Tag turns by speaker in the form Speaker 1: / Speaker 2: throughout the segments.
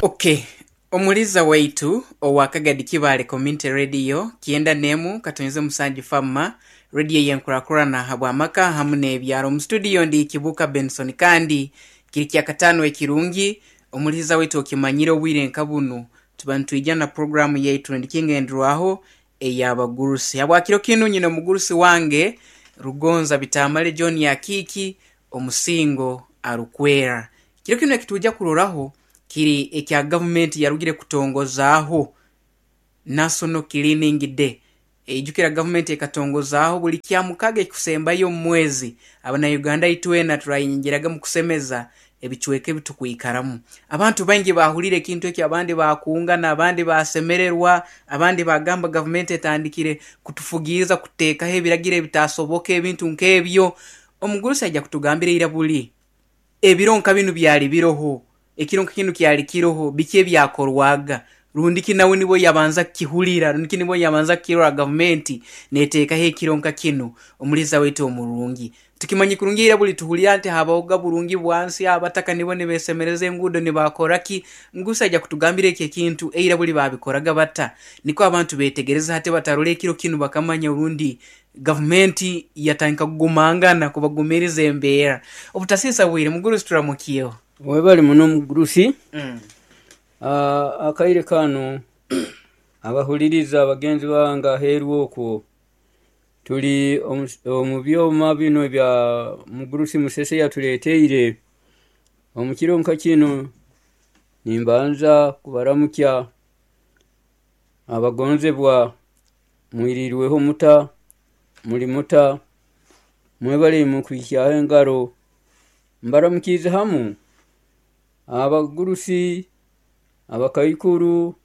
Speaker 1: Okay, omuliza waitu owa Kagadi Kibaale Community Radio 97.7 Fama radio yenkurakurana habw'amaka hamu n'ebyaro. Omu studio ndi Kibuuka Benson kandi kiri kyakataano ekirungi. Omuliza waitu, okimanyire obwire nka bunu tuba nitwija na programu yaitu ndikingenderwaho ey'abagurusi. Habwakiro kinu nyine omugurusi wange Rugonza Bitamale John Akiiki omusingo arukwera. Kiro kinu ekitwija kuroraho kiri ekya gavumenti yarugire kutongozaaho National Cleaning Day. Eijukira gavumenti ekatongozaaho buli kyamukaga ekikusembayo omu mwezi abana Uganda itwena turayingiraga mu kusemeza ebicweka ebitukwikaramu. Abantu baingi bahulire ekintu ekyo, abandi bakungana, abandi basemererwa, abandi bagamba gavumenti etandikire kutufugiiriza, kuteekaho ebiragiro ebitasoboka, ebintu nk'ebyo. Omugurusi aija kutugambira ira buli ebiro nka binu byali biroho, ekiro nka kinu kyali kiroho, biki ebyakorwaga, rundiki nawe nibo yabanza kukihulira, rundiki nibo yabanza kukirora gavumenti neteekaho ekiro nka kinu. Omuliza waitu omurungi, tukimanyi kurungi ira buli tuhulira nti habahoga burungi bwansi, abataka nibo nibesemereza enguudo nibakoraki. Mugurusi aija kutugambira ekyo ekintu eira buli babikoraga bata, nikwo abantu betegereza hati batarora ekiro kinu bakamanya orundi gavumenti yatandika kugumangana kubagumiriza embeera. Obutasiisa bwire, mugurusi, turamukiyeho.
Speaker 2: Webali muno mugurusi. Akaire kanu abahuliriza abagenzi bange aheeru okwo tuli omu byoma binu ebya mugurusi Musese yatuleeteire. Omu kiro nka kinu nimbanza kubaramukya abagonzebwa. Mwirirweho muta? Muli muta? Mwebale mukwihyaho engaro. Mbaramukiize hamu abagurusi, abakaikuru,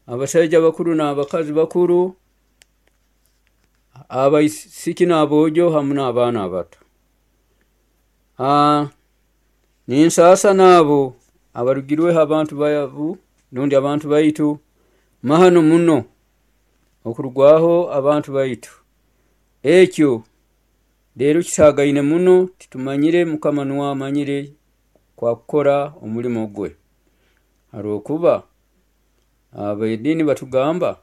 Speaker 2: abasaija bakuru n'abakazi bakuru, abaisiki n'aboojo hamu n'abaana abato. Ninsaasa n'abo abarugirweho abantu babu rundi abantu baitu. Mahano muno okurugwaho abantu baitu, ekyo leero kisaagaine muno, titumanyire. Mukama nuwe amanyire kwakukora omulimo gwe, habwokuba ab'ediini batugamba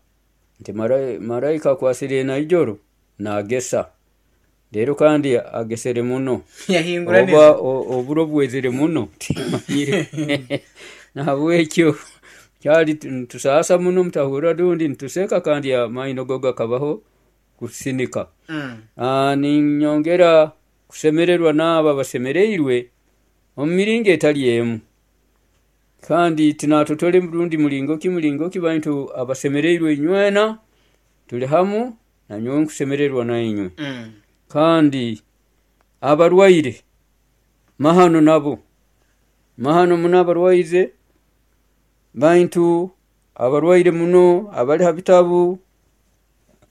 Speaker 2: nti maraika akwasire naijoro naagesa, leero kandi agesere muno oba oburo bwezere muno, timanyire. Nahabwekyo kyali nitusaasa muno, mutahurra rundi nituseka kandi amaino go gakabaho kusinika. Ninyongera kusemererwa n'abo abasemereirwe omu miringo etali emu, kandi tinatotole rundi muringo ki, baitu abasemereirwe inywena tuli hamu, nanyowe nkusemererwa nainywe. Kandi abarwaire, mahano nabo, mahano muno abarwaize, baitu abarwaire muno abali ha bitabu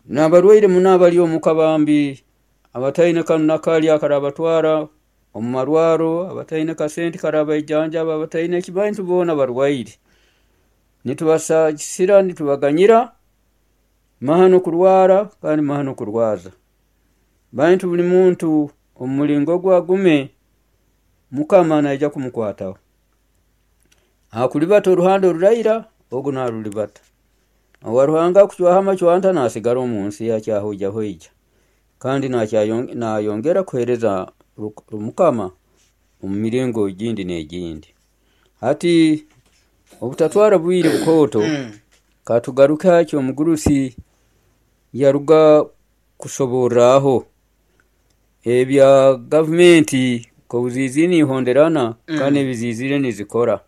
Speaker 2: n'abarwaire muno abali omuka bambi, abataine kanu na kali akarabatwara omu marwaro, abataine kasente karabaijanjaba, abataine ki, baitu boona barwaire, nitubasaasira, nitubaganyira. Mahano kurwara kandi mahano kurwaza, baitu buli muntu omu muringo gwe agume, Mukama naija kumukwataho. Akulibata oruhande oruraira, ogu narulibata. Owa Ruhanga akucwaho amacwanta nasigara omu nsi akyahoijahoija kandi nayongera kuheereza Mukama omu miringo egindi n'egindi. Hati obutatwara bwire bukooto, katugaruke ha ekyomugurusi yaruga kusoborraho ebya gavumenti nk'obuziizire nihonderana kandi ebiziizire nizikora.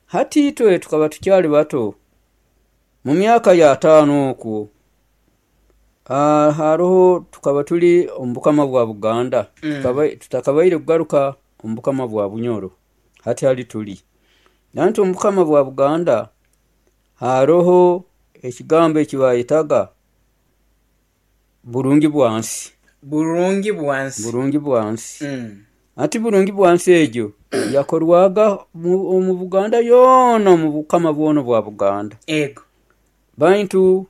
Speaker 2: Hati itwe tukaba tukyali bato mu myaka ya 50 okwo, haroho tukaba tuli omu bukama bwa Buganda, tutakabaire kugaruka omu bukama bwa Bunyoro. Hati hali tuli nanti omu bukama bwa Buganda, haroho ekigambo eki bayetaga burungi bwansi.
Speaker 1: Burungi bwansi.
Speaker 2: Burungi bwansi. Ati burungi bwansi egyo yakorwaga omu Buganda yoona, omu bukama bwona bwa Buganda. Baitu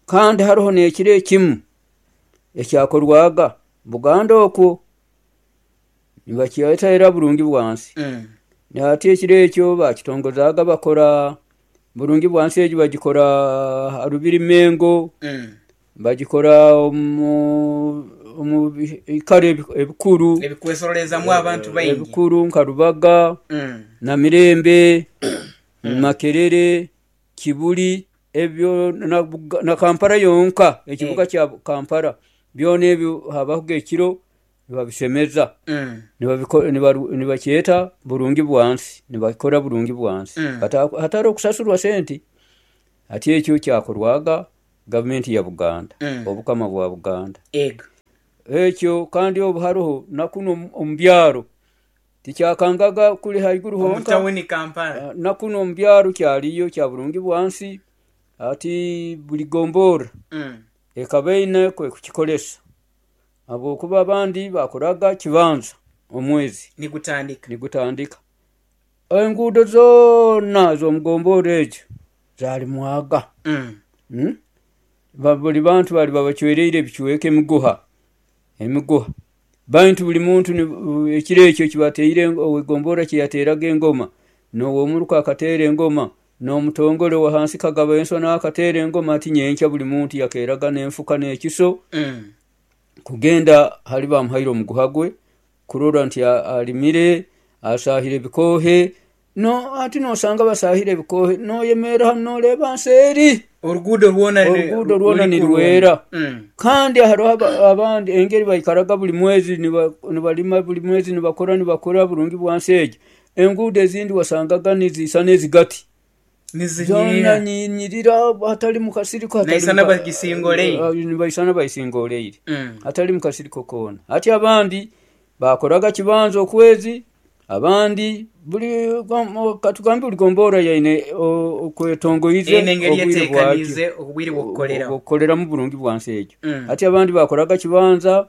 Speaker 2: kandi haroho n'ekiro ekimu ekyakorwaga Buganda okwo nibakyeta era burungi bwansi. Ati ekiro ekyo bakitongozaaga, bakora burungi bwansi egi, bagikora ha Rubiri Mengo, bagikora omu biikaro ebikuru
Speaker 1: ebikwesorolezamu abantu baingi,
Speaker 2: ebikuru nka Rubaga, Namirembe, Makerere, Kibuli, ebyo na Kampala yonka, ekibuga kya Kampala byona ebyo habahoga ekiro nibabisemeza, nibakyeta burungi bwansi, nibakora burungi bwansi, hatari kusasurwa sente. Ati ekyo kyakorwaga gavumenti ya Buganda, obukama bwa Buganda. Ekyo kandi obu haroho nakuno omu byaro tikyakangaga kuli haiguru honka, nakuno omu byaro kyaliyo kya burungi bwansi. Ati buli gombora ekaba eine kukikoresa, habwokuba abandi bakoraga kibanza omwezi nigutandika. Enguudo zoona ez'omugombora egyo zalimwaga. Buli bantu bali babacwereire ebicweka, emiguha. Bantu buli muntu ekiro ekyo kibateire owegombora kyeyateraga engoma, n'owomuruka akateera engoma, n'omutongole wa hansi kagaba enswa n'akateera engoma. Ati nyenkya buli muntu yakeraga n'enfuka n'ekiso kugenda hali bamuhaire omuguha gwe, kurora nti alimire, asahire ebikohe. No ati nosanga basahire ebikohe, noyemerra hanu noreba nseeri
Speaker 1: oruguudo rwona
Speaker 2: nirwera. Kandi hariho abandi engeri baikaraga buli mwezi nibalima, buli mwezi nibakora burungi bwansi egyo. Enguudo ezindi wasangaga nizisana ezigati zona ninyirira, hatali mukasiriko, nibaisana bayisingoleire, hatali mukasiriko koona. Ati abandi bakoraga kibanza okwezi, abandi buli katugambe buli gombora yaine okwetongoize
Speaker 1: obwire
Speaker 2: bw'okukoreramu burungi bwansi egyo. Ati abandi bakoraga kibanza,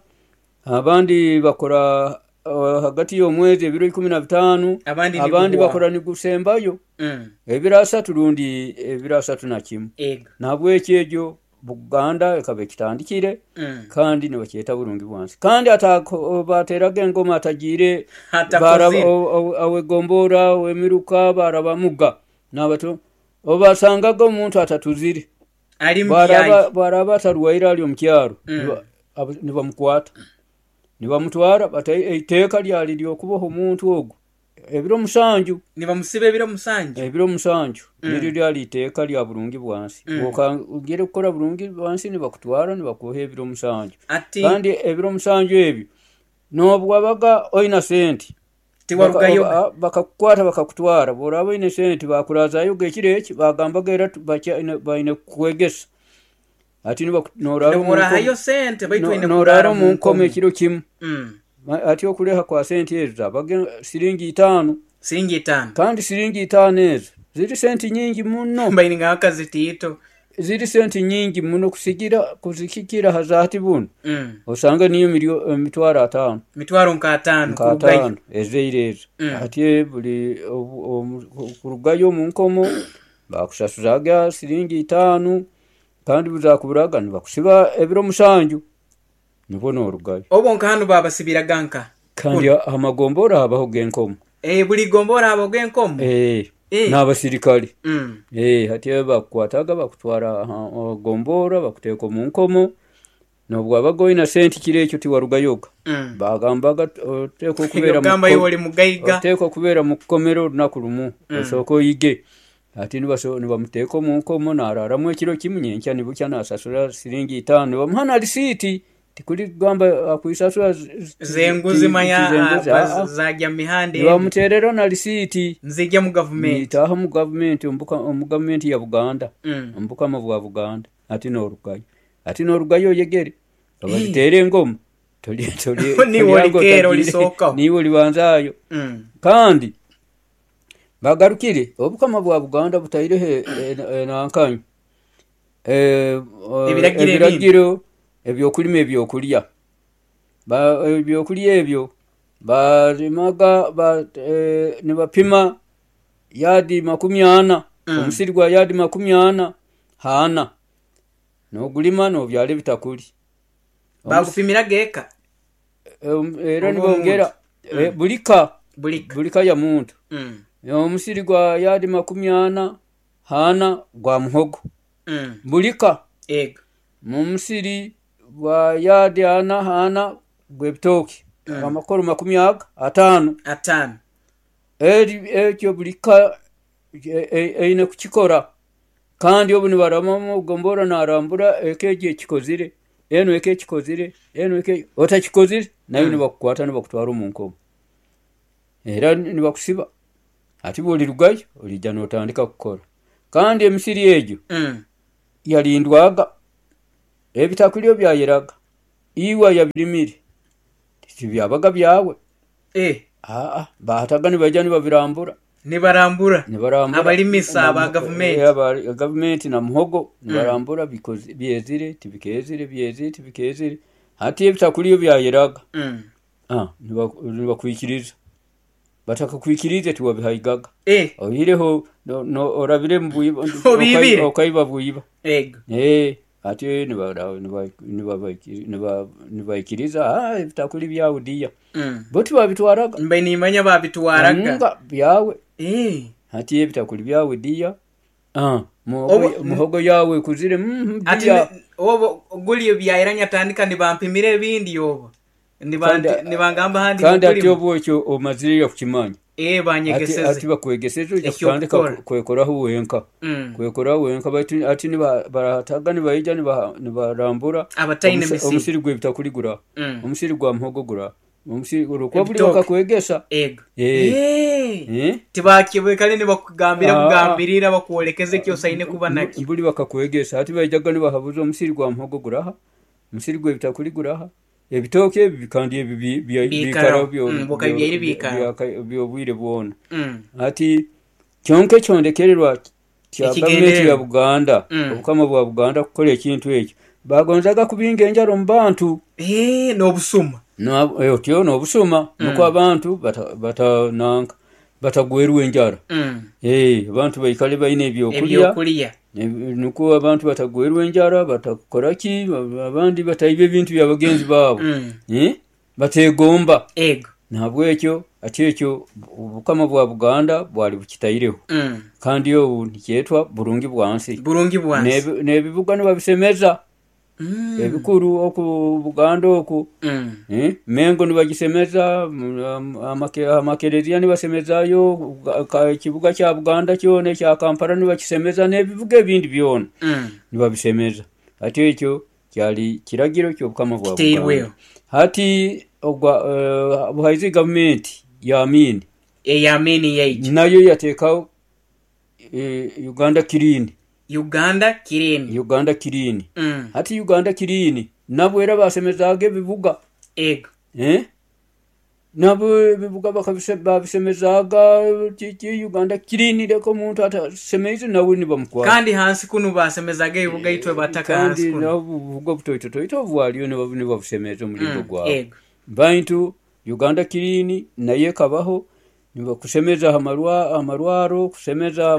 Speaker 2: abandi bakora hagati y'omwezi ebiro 15, abandi bakora nigusembayo ebiro 3 rundi ebiro 31. Nahabwekyo egyo Buganda ekaba ekitandikire, kandi nibakyeta burungi bwansi. Kandi bateraga engoma atagiire awegombora owemiruka barabamuga nabato obasangaga omuntu atatuzire, baraba atarwaire ali omu kyaro, nibamukwata nibamutwara. Eiteeka lyali lyokuboha omuntu ogwo ebiro 7,
Speaker 1: nibamusiba ebiro 7,
Speaker 2: ebiro 7 niryo lyali iteeka lya burungi bwansi. Bwokangire kukora burungi bwansi nibakutwara nibakuha ebiro 7. Kandi ebiro 7 ebyo nobwabaga oina sente bakakukwata bakakutwara, bworaba oine sente bakurazayo ekiro eki, bagambaga era baine kukwegesa. Ati norara omu nkomo ekiro kimu. Ati okuleha kwa sente ezo zabaga siringi 5.
Speaker 1: Siringi 5.
Speaker 2: Kandi siringi 5 ezo ziri sente nyingi muno. Ziri sente nyingi muno kuzikikira hazati buno. Osanga niyo emitwaro 5.
Speaker 1: Mitwaro nka 5 kurugayo.
Speaker 2: Ezeire ezo. Ati buli kurugayo omu nkomo bakusasuzaga siringi 5, kandi buzakuburaga nibakusiba ebiro 7 nibwo norugayo.
Speaker 1: Obwo nka hanu babasibiraga nka
Speaker 2: kandi amagombora habaho genkomo.
Speaker 1: Buli gombora habaho genkomo.
Speaker 2: N'abasirikale. Hati bakukwataga bakutwara gombora bakuteeka omu nkomo, nobwabaga oina sente kiro ekyo tiwarugayoga. Bagambaga oteekwa kubeera mu kukomero olunaku lumu, osooka oyige. Ati nibamuteeka omu nkomo nararamu ekiro kimu, nyenkya nibukya nasasura siringi 5, nibamuha na risiiti. Tikuli kugamba akwisasura
Speaker 1: zenguzi manya zajya mihanda,
Speaker 2: nibamuterera na risiiti
Speaker 1: nzijya mu gavumenti,
Speaker 2: nitaha mu gavumenti, omu gavumenti ya Buganda, omu bukama bwa Buganda. Ati norugayo, ati norugayo oyegere abaziteera engoma niwe olibanzayo. Kandi bagarukire obukama bwa Buganda butaireho enankanyu ebiragiro ebyokulima ebyokulya. Ebyokulya ebyo balimaga nibapima yadi 40, omusiri gwa yadi 40 hana, nogulima nobyala ebitakuli.
Speaker 1: Bagupimiraga eka
Speaker 2: era nibongera bulika.
Speaker 1: Buli
Speaker 2: ka ya muntu. Omusiri gwa yadi 40 hana gwa muhogo. Buli ka.
Speaker 1: Ego.
Speaker 2: Mu musiri gwa yadi 4 hana gw'ebitooke. Amakoro 50.
Speaker 1: 5.
Speaker 2: Ekyo buli ka eine kukikora. Kandi obu nibaramamu gombora narambura ekeji ekikozire, eno ekekikozire, eno eke otakikozire nayo nibakukwata nibakutwara omu nkomo. Era nibakusiba. Ati bwolirugayo olija notandika kukora. Kandi emisiri egyo yalindwaga, ebitakulyo byayeraga, iwe yabirimire tibyabaga byawe. Bahataga nibaija nibabirambura.
Speaker 1: Nibarambura. Abalimisa aba gavumenti.
Speaker 2: Aba gavumenti na muhogo nibarambura byezire tibikezire byezire tibikezire. Hati ebitakulyo byayeraga. Nibakwikiriza. Batakakwikirize tiwabihaigaga. Oihireho orabire mu okaiba bwiba.
Speaker 1: Ego.
Speaker 2: Ati nibaikiriza ebitakuli byawe diya. Bo tibabitwaraga.
Speaker 1: Mbe nimanya babitwaraga.
Speaker 2: Byawe. Hati ebitakuli byawe diya. Muhogo yawe kuzire
Speaker 1: ati obo guli byayiranya tandika nibampimire ebindi obo. Nibangamba handi
Speaker 2: kandi ati obo ekyo omazire kukimanya.
Speaker 1: Banyegeseze.
Speaker 2: Ati bakwegeseze ojja kutandika kwekoraho wenka. Kwekoraho wenka baitu ati barataga nibaija nibarambura omusiri gw'ebitakuli gura. Omusiri gwa muhogo gura. Omusiri olwokuba buli bakakwegesa.
Speaker 1: Ego. Tibakibwekale nibakugambira kugambirira bakwolekeze ekyo osaine kuba nakyo.
Speaker 2: Buli bakakwegesa ati baijaga nibahabuza omusiri gwa muhogo guraha. Omusiri gw'ebitakuli guraha. Ebitooke ebi kandi ebi biikara byobwire bwona. Ati kyonka ekyondekererwa kya gavumenti ya Buganda, obukama bwa Buganda kukora ekintu ekyo. Bagonzaga kubinga enjara omu bantu.
Speaker 1: N'obusuma.
Speaker 2: Otyo n'obusuma nukwo abantu batananka batagwerwa enjara. Abantu baikale baine ebyokulya. Nukwo abantu batagwerwa enjara, batakora ki, abandi bataiba ebintu bya bagenzi baabo. Bategomba.
Speaker 1: Ego.
Speaker 2: Nahabwekyo ati ekyo obukama bwa Buganda bwali bukitaireho. Kandi obu nikyetwa burungi bwansi.
Speaker 1: Burungi bwansi.
Speaker 2: N'ebibuga nibabisemeza. Ebikuru oku Buganda oku. Mengo nibagisemeza, amakereziya nibasemezayo, ekibuga kya Buganda kyona ekya Kampala nibakisemeza n'ebibuga ebindi byona nibabisemeza. Ati ekyo kyali kiragiro ky'obukama bwa Buganda. Hati buhaizi gavumenti ya Amini.
Speaker 1: Eya Amini yaitu.
Speaker 2: Nayo yateekaho Uganda Clean.
Speaker 1: Uganda Clean.
Speaker 2: Uganda Clean. Hati Uganda Clean nabo era basemezaga ebibuga.
Speaker 1: Ego.
Speaker 2: Nabo ebibuga babisemezaga Uganda Clean leka omuntu atasemeize nawe nibamukwata.
Speaker 1: Kandi hansi kunu basemezaga ebibuga itwe bataka hansi kunu.
Speaker 2: Kandi nabo obubuga butoito obwaliyo nibabusemeza omulingo gwabo.
Speaker 1: Ego.
Speaker 2: Bantu Uganda Clean naye kabaho nibakusemeza amarwaro, kusemeza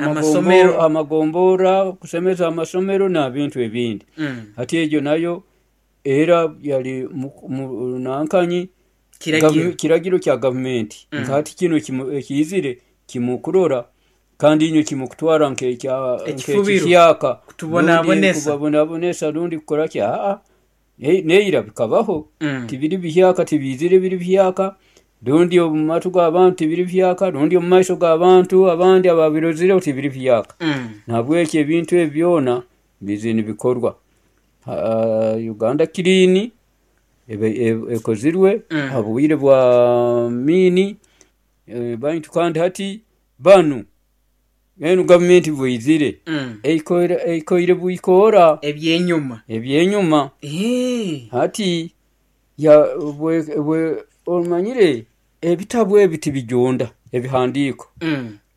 Speaker 2: amagombora, kusemeza amasomero n'ebintu ebindi. Hati egyo nayo era yali nankanyi kiragiro kya gavumenti. Hati kino ekiyizire kimukurora kandi inyo kimukutwara nk'ekihyaka kutubonabonesa rundi kukora ki neira bikabaho. Tibiri bihyaka tibizire biri bihyaka. Rundi omu matu g'abantu tibiri bihyaka, rundi omu maiso g'abantu abandi ababirozire tibiri bihyaka. Nahabwekyo ebintu ebi byona bize nibikorwa. Uganda Clean ekozirwe ha bwire bwa Amini. Bantu kandi hati banu enu gavumenti bwizire eikoire bwikora ebyenyuma. Hati ya omanyire ebitabu ebi tibijonda, ebihandiiko.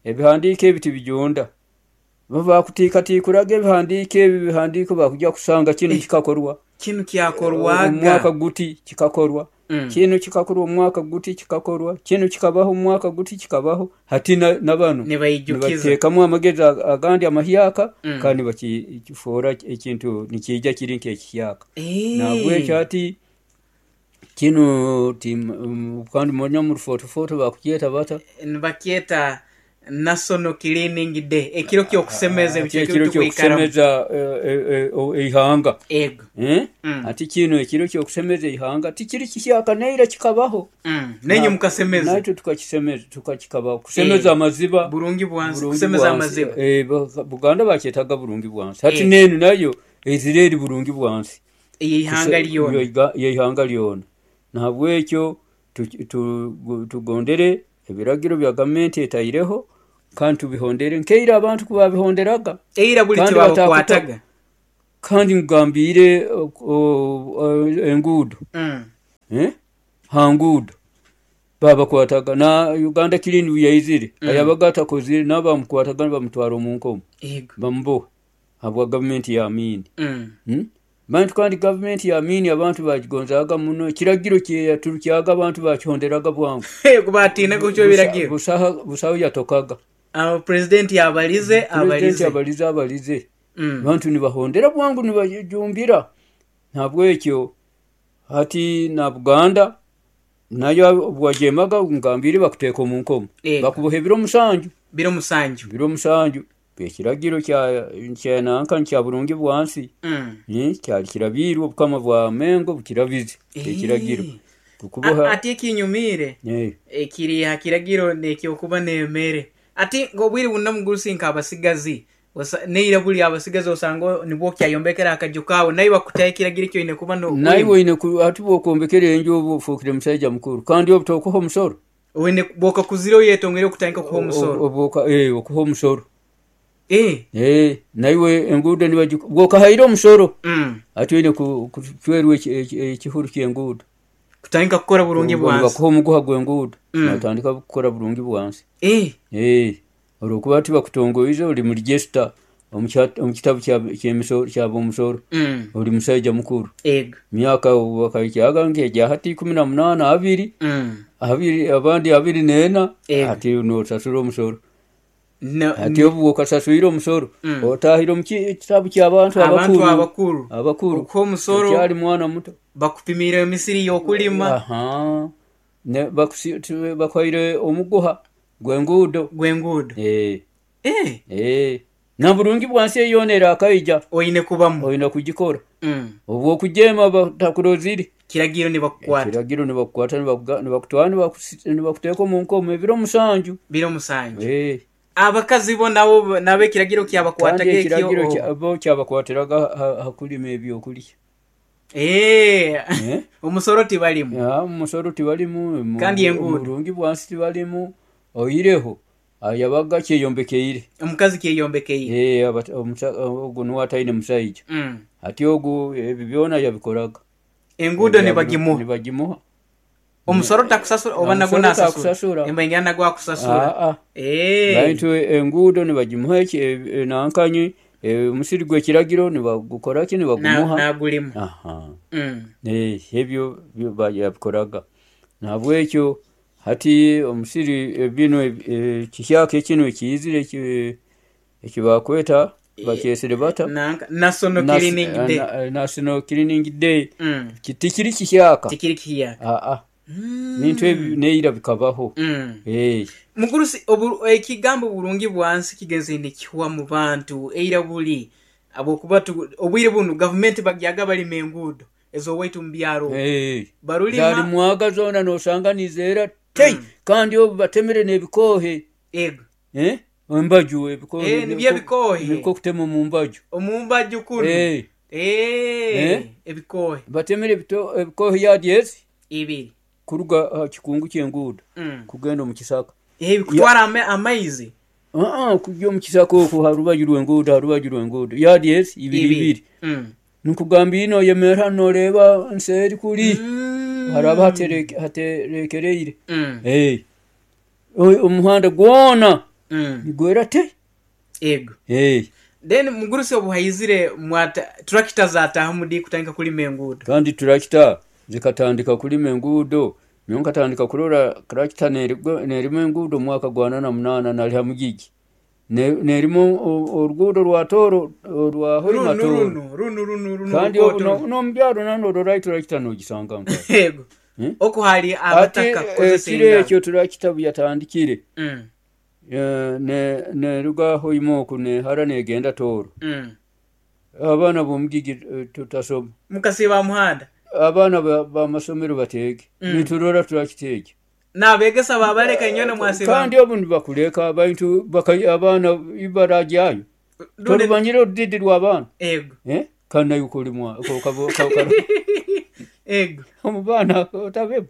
Speaker 2: Ebihandiiko ebi tibijonda. Bakutiikatikuraga ebihandiiko ebi, ebihandiiko bakujja kusanga kinu kikakorwa.
Speaker 1: Kinu kyakorwaga.
Speaker 2: Omwaka guti kikakorwa. Kinu kikakorwa omwaka guti kikakorwa. Kinu kikabaho omwaka guti kikabaho. Hati nabanu nibateekamu amagezi agandi amahyaka kandi bakifuura ekintu nikiija kiri nk'ekihyaka. Nahabwekyo hati Kinu kandi monya mu rufotofoto bakukyeta bata?
Speaker 1: Nibakyeta National Cleaning Day, ekiro ky'okusemeza
Speaker 2: Ati
Speaker 1: ebicweka
Speaker 2: ekiro
Speaker 1: ebitukwikaramu.
Speaker 2: Ky'okusemeza eihanga.
Speaker 1: Ego.
Speaker 2: Eh? Ati kinu ekiro ky'okusemeza eihanga tikiri kihyaka, neira kikabaho.
Speaker 1: Nenye mukasemeza.
Speaker 2: Naitwe tukakisemeza, tukakikabaho kusemeza amaziba.
Speaker 1: Burungi bwansi,
Speaker 2: Burungi
Speaker 1: kusemeza
Speaker 2: bwansi.
Speaker 1: Amaziba.
Speaker 2: Buganda bakyetaga burungi bwansi. Hati nenu nayo ezire eri burungi bwansi.
Speaker 1: Eihanga lyona.
Speaker 2: Yeihanga lyona. Nahabwekyo tugondere ebiragiro bya gavumenti etaireho kandi tubihondere nkeira abantu kubabihonderaga.
Speaker 1: Eira buli
Speaker 2: Kandi
Speaker 1: tibabakwataga.
Speaker 2: Kandi ngambire enguudo. Ha nguudo babakwataga na Uganda Clean yaizire. Ayabaga atakozire n'abamukwataga bamutwara omu nkomo. Bamuboha habwa gavumenti ya Amini. Bantu kandi gavumenti ya Amini abantu bagigonzaga muno, ekiragiro kyeyaturukyaga abantu bakihonderaga bwangu.
Speaker 1: Kubatina kucyo biragiro.
Speaker 2: Busaho yatokaga.
Speaker 1: President yabalize,
Speaker 2: President
Speaker 1: abalize.
Speaker 2: Yabalize, abalize. Abantu nibahondera bwangu nibajumbira. Nabwekyo hati na Buganda nayo bwajemaga ngambire bakuteka omu nkomo. Bakuboha ebiro musanju.
Speaker 1: Biro musanju.
Speaker 2: Biro musanju. Ekiragiro kya nanka kya burungi bwansi. Kyali kirabirwe obukama bwa Mengo bukirabize. Ekiragiro. Kukuboha.
Speaker 1: Ati ekinyumire. Ekiri ha kiragiro nekyokuba nemere. Ati ngobwire bunna mugurusi nk'abasigazi. Neira buli abasigazi osanga nibwo kyayombekera akaju kawe naye bakutaye kiragiro kyo ine kuba no
Speaker 2: Naye oine ati bwokombekera enju obu ofuukire musajja mukuru kandi obutokuha omusoro.
Speaker 1: Oine bwoka kuzira oyetongere okutandika kuha omusoro.
Speaker 2: Obuka okuha omusoro. Naiwe enguudo bwokahaire omusoro. Ati oine kucwerwa ekihuru ky'enguudo.
Speaker 1: Kutandika kukora burungi bwansi.
Speaker 2: Bakuha omuguha gw'enguudo. Natandika kukora burungi bwansi. Olwokuba tibakutongoize ori mu register omu kitabu ky'omusoro. Ori musajja mukuru. Myaka bakahikyaga nk'egya hati 18 abiri. Abiri, abandi 24. Ati nosasura omusoro. Ati obu okasasuire omusoro. Otahire omu kitabu ky'abantu
Speaker 1: Abantu
Speaker 2: abakuru.
Speaker 1: Abakuru.
Speaker 2: Abakuru.
Speaker 1: Okuha omusoro.
Speaker 2: Okyali mwana muto.
Speaker 1: Bakupimire emisiri y'okulima.
Speaker 2: Ne bakwaire omuguha gw'enguudo.
Speaker 1: Gw'enguudo.
Speaker 2: Na burungi bwansi eyona erakaija.
Speaker 1: Oine kubamu.
Speaker 2: Oine kugikora. Obwo okujema batakurozire.
Speaker 1: Kiragiro nibakukwata.
Speaker 2: Kiragiro nibakukwata, nibakutwara, nibakuteeka omu nkomo ebiro musanju.
Speaker 1: Biro musanju. Abakazi bo nabo nabo ekiragiro kyabakwataga
Speaker 2: Kandi
Speaker 1: ekyo
Speaker 2: ekiragiro bo kyabakwatiraga hakulima ebyokulya.
Speaker 1: Omusoro tibalimu.
Speaker 2: Omusoro tibalimu,
Speaker 1: Kandi enguudo.
Speaker 2: Burungi bwansi tibalimu. Oireho ayabaga kyeyombekeire.
Speaker 1: Omukazi kyeyombekeire.
Speaker 2: Ogu niwe ataine musaija. Ati ogu ebi byona yabikoraga.
Speaker 1: Enguudo nibagimuha.
Speaker 2: Nibagimuha.
Speaker 1: Omusoro takusasura oba nagwo
Speaker 2: Omusoro
Speaker 1: nasasura.
Speaker 2: takusasura.
Speaker 1: Emba nagwo akusasura.
Speaker 2: Baitu enguudo nibagimuha nankanyi, omusiri gw'ekiragiro nibagukora ki nibagumuha.
Speaker 1: Nagulima.
Speaker 2: Ebyo yabikoraga. Nahabwekyo hati omusiri bino kihyaka ekino ekiyizire ekibakweta bakyesere bata?
Speaker 1: National Cleaning Day.
Speaker 2: National Cleaning Day. Tikiri kihyaka.
Speaker 1: Tikiri kihyaka.
Speaker 2: Bintu ebi neira bikabaho.
Speaker 1: Mugurusi ekigambo burungi bwansi kigenze nikihwa mu bantu eira buli abokuba obwire bunu gavumenti bagyaga balima enguudo ezowaitu mu byaro. Barulima
Speaker 2: Zali mwaga zona nosanga nizera tei. Kandi obu batemere n'ebikohe.
Speaker 1: Ego.
Speaker 2: Embaju ebikohe.
Speaker 1: Nibyo ebikohe.
Speaker 2: Niko kutema mu mbaju.
Speaker 1: Omu mbaju kuno. Ebikohe.
Speaker 2: Batemere ebikohe yadi ezi?
Speaker 1: Ibiri.
Speaker 2: Kuruga kikungu ky'enguudo. Kugenda omu kisaka.
Speaker 1: Kutwara amaizi.
Speaker 2: Kujya omu kisaka okwo harubaju rw'enguudo, harubaju rw'enguudo. Yadi ezi ibiri ibiri. Nkugamba ino yemera noreba nseri kuri. Haraba haterekereire. Omuhanda gwona. Nigwera te.
Speaker 1: Ego. Then mugurusi obuhaizire mwata tractor zataha mudi kutandika kulima enguudo.
Speaker 2: Kandi tractor zikatandika kulima enguudo. Nyo nkatandika kurora tractor nerima enguudo mwaka gwa 88 nali ha mugigi. Nerima oruguudo rwa Tooro, orwa Hoima
Speaker 1: Runu
Speaker 2: Tooro.
Speaker 1: Runu runu runu runo
Speaker 2: Kandi
Speaker 1: orukoto
Speaker 2: obu
Speaker 1: runu.
Speaker 2: n'omubyaro nanu turakita nogisanga nkaho.
Speaker 1: Ego.
Speaker 2: Eh?
Speaker 1: Oku hali
Speaker 2: Ati
Speaker 1: abataka kukozesa
Speaker 2: ekiro
Speaker 1: engaro.
Speaker 2: ekyo turakita buyatandikire neruga Hoima oku nehara negenda Tooro. Abaana b'omugigi tutasoma.
Speaker 1: Mukasiiba muhanda.
Speaker 2: Abaana b'amasomero bateege. Niturora turakita egyo.
Speaker 1: N'abegesa babaleka inywena mwasiiba.
Speaker 2: Kandi obu nibakuleka abantu abaana ibarajyayo. Torumanyire orudidi rw'abaana.
Speaker 1: Ego.
Speaker 2: Eh? Kandi nawe kolimwa
Speaker 1: Ego.
Speaker 2: Omu baana otabemu.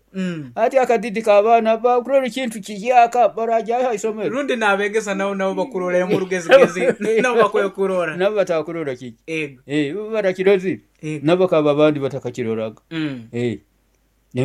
Speaker 2: Ati akadidi k'abaana bakurora ekintu kihyaka barajyayo ha isomero.
Speaker 1: Rundi n'abegesa nabo nabo bakurorera mu rugezigezi nabo bakwiye kurora.
Speaker 2: Nabo batakurora kiki.
Speaker 1: Ego.
Speaker 2: Barakirozire.
Speaker 1: Ego.
Speaker 2: Nabo bakaba abandi batakakiroraga.